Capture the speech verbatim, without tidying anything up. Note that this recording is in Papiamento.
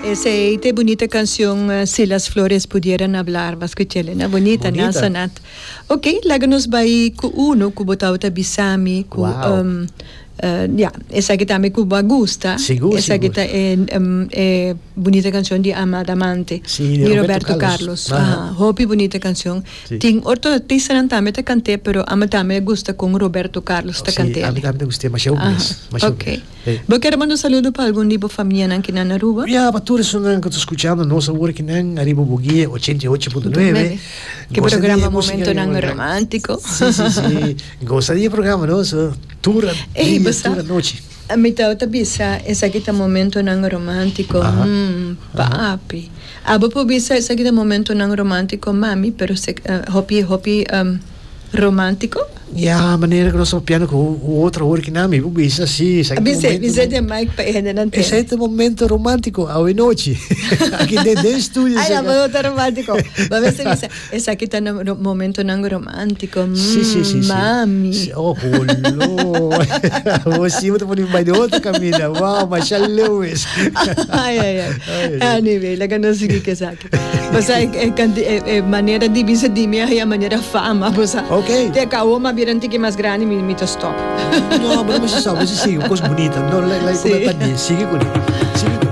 Esey ta bunita cancion, eh, "Si las flores pudieran hablar", b'a scuch'e, na bunita, na Bunita. Sonat. Ok, laga nos bay cu uno cu bo tawata bisami cu Wow. um, uh, ja, esaki tambe cu bo gusta. Sigur, Esaki sigur. ta e, um, e bunita cancion di "Amada Amante" Si, di Roberto Roberto Carlos. Carlos. Aha. Ah, hopi bunita cancion. Si. Tin otro artistanan tambe ta cant'e, pero ami tambe gusta con Roberto Carlos ta Si, cant'e. ami tambe gusta, mas eu Aha, mes. Mas eu ok. mes. Si. Bo kier manda un saludo pa algun tipo famia cu na Aruba? Ja, pa tur esnan cu ta scuchando nos awor aki nan riba Bo Guia ochenta i ocho punto nuebe. Cu Gosta programa di musica Momentonan di- Romantico. Si, si, si. Gosta di programa, no? So, tur Ei, dia, basta. tur anochi. Mi tawata bisa, esaki ta Momentonan Romantico. Aha. Mm, papi. Abo por bisa, "Esaki ta Momentonan Romantico, mami", pero se, uh, hopi, hopi um, romantico. Ja, manera cu nos papiando cu otro awor aki nan, mi bisa si, esaki Bisa, momento bisa den mic pa hende nan tende. Esey ta momento romantico, awe nochi. Aki den den studio. Ai, Sega. no, ta romantico. Ma bisa, bisa, esaki ta na Momentonan Romantico. Mm, Si, si, si, si. Mami. Si, oh, holo. Bo ta pone bay di otro caminda. Wow, Michelle Lewis. Ai, ai, ai. Ai, ai. Anyway, laga nos sigui cu esaki. Basta e, e, canti- e, e manera di bisa di mi e manera fama, basta. Ok. Te cabo ma bira un tiki mas grandi, mi mi ta stop. No, mas no sabi, sigui, cos bunita. No, like, like, Si. si. Sigui cu ne. Sigui cu